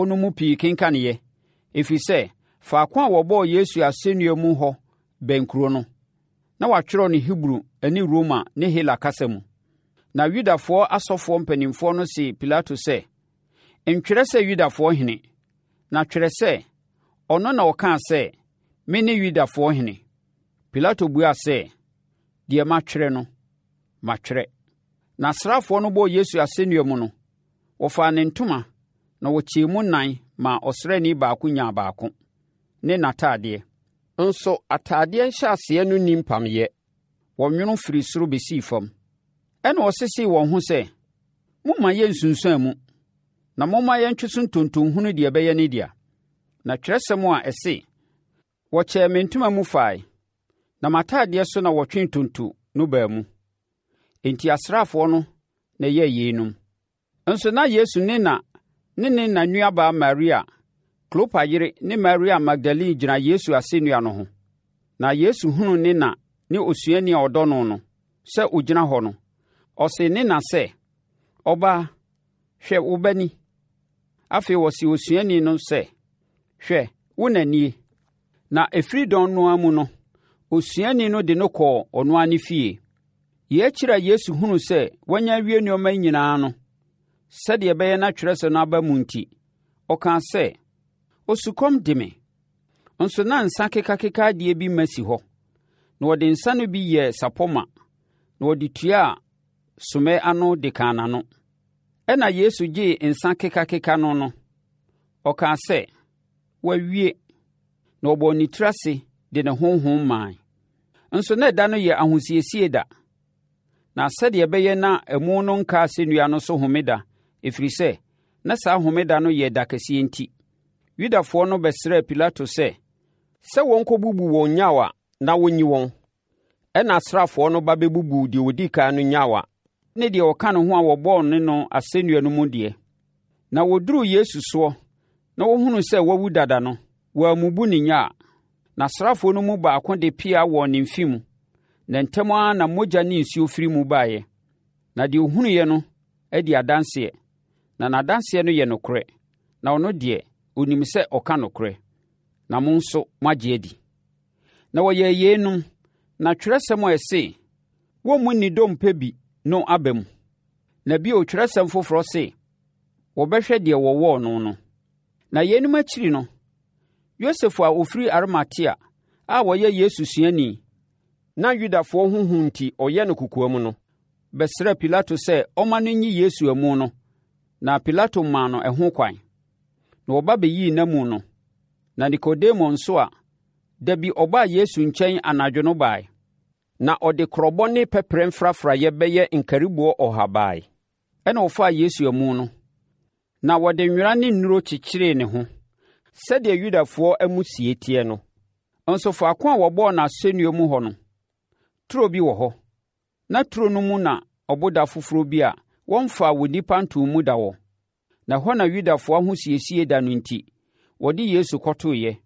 no mu pii kenkaneeɛ, ɛfiri sɛ, faako a wɔbɔɔ Yesu asɛnnua mu hɔ bɛn kuro no. Na wɔatwerɛ no Hebri ne Roma ne Hela kasa mu. Na Yudafoɔ asɔfoɔ mpanimfoɔ no see Pilato sɛ, Ntwerɛ sɛ 'Yudafoɔ Hene', na twerɛ sɛ, 'Ɔno na ɔkaa sɛ, Mene Yudafoɔ Hene. Pilato buaa sɛ, Deɛ matwerɛ no, matwerɛ. Na asraafoɔ no bɔɔ Yesu asɛnnua mu no, wɔfaa ne ntoma na wɔkyɛɛ mu nnan maa ɔsraani baako nyaa baako, ne n'atadeɛ. Nso atadeɛ nhyɛaseɛ no nni mpameeɛ, wɔnwono firii soro bɛsii fam. Ɛnna wɔsesee wɔn ho sɛ, Mommma yɛnnsunsuane mu, na momma yɛntwe so ntonto nhunu deɛ ɛbɛyɛ ne dea. Na twerɛsɛm a ɛse, Wɔkyɛɛ me ntoma mu fae, na m'atadeɛ so na wɔtwee ntonto no baa mu. Enti asraafoɔ no na ɛyɛɛ yeinom. Nso na Yesu ne na ne ne na nuabaa Maria, Klopa yere ne Maria Magdalene gyina Yesu asɛnnua no ho. Na Yesu hunuu ne na ne osuani a ɔdɔ no no sɛ ɔgyina hɔ no, ɔsee ne na sɛ, Ɔbaa, hwɛ wo ba ni. Afei ɔsee osuani no sɛ, Hwɛ, wo na nie. Na ɛfiri dɔn no ara mu no, osuani no de no kɔɔ ɔno ara ne fie. Yei akyiri a Yesu hunuu sɛ wanya awie nneɛma nyinaa no, sɛdeɛ ɛbɛyɛ na twerɛsɛm no aba mu nti, ɔkaa sɛ, Osukɔm de me. Nso na nsa kekakeka adeɛ bi ma si hɔ, na wɔde nsa no bi yɛɛ sapɔ ma, na wɔde tuaa sommɛ ano de kaa n'ano. Ɛnna Yesu gyee nsa kekakeka no no, ɔkaa sɛ, Wɔawie! Na ɔbɔɔ ne tiri ase de ne honhom mae. Nso na ɛda no yɛ ahosiesie da, na sɛdeɛ ɛbɛyɛ na amu no nka asɛnnua no so homeda, ɛfiri sɛ, na saa homeda no yɛ da kɛseɛ nti, Yudafoɔ no bɛsrɛɛ Pilato sɛ, sɛ wɔnkɔbubu wɔn nnyawa na wɔnyi wɔn. Ɛnna asraafoɔ no ba bɛbubuu deɛ ɔdi kan no nnyawa ne deɛ ɔka ne ho a wɔbɔɔ ne no asɛnnua no mu deɛ. Na wɔduruu Yesu soɔ na wɔhunuu sɛ wawu dada no, wɔammubu ne nyaa. Na asraafoɔ no mu baako de pea wɔɔ ne mfe mu, na ntɛm ara na mogya ne nsuo firi mu baeɛ. Na deɛ ɔhunuiɛ no adi adanseɛ, na n'adanseɛ no yɛ nokorɛ, na ɔno deɛ, ɔnim sɛ ɔka nokorɛ, na mo nso moagye adi. Na wɔyɛɛ yeinom, na twerɛsɛm a ɛse, Wɔmmu ne dompe bi no aba mu. Na bio twerɛsɛm foforɔ se, Wɔbɛhwɛ deɛ wɔwɔɔ no no. Na yeinom akyiri no, Yosef a ɔfiri Arimatea a ɔyɛ Yesu suani, na Yudafoɔ ho hu nti ɔyɛ no kokoam no, bɛsrɛɛ Pilato sɛ ɔmma no nyi Yesu amu no, na Pilato maa no ɛho kwan. Na wɔba bɛyii n'amu no. Na Nikodemo nso a da bi ɔbaa Yesu nkyɛn anadwo no bae, na ɔde korɔbɔ ne pɛprɛ mfrafraeɛ bɛyɛ nkariboɔ ɔha bae. Ɛnna wɔfaa Yesu amu no, na wɔde nwera ne nnuro kyekyeree ne ho, sɛdeɛ Yudafoɔ amusie teɛ no. Nso faako a wɔbɔɔ no asɛnnua mu hɔ no, turo bi wɔ hɔ, na turo no mu na ɔboda foforɔ bi a wɔmfaa onipa ntoo mu da wɔ. Na ɛhɔ na Yudafoɔ ahosiesie da no enti, wɔde Yesu kɔtoeɛ.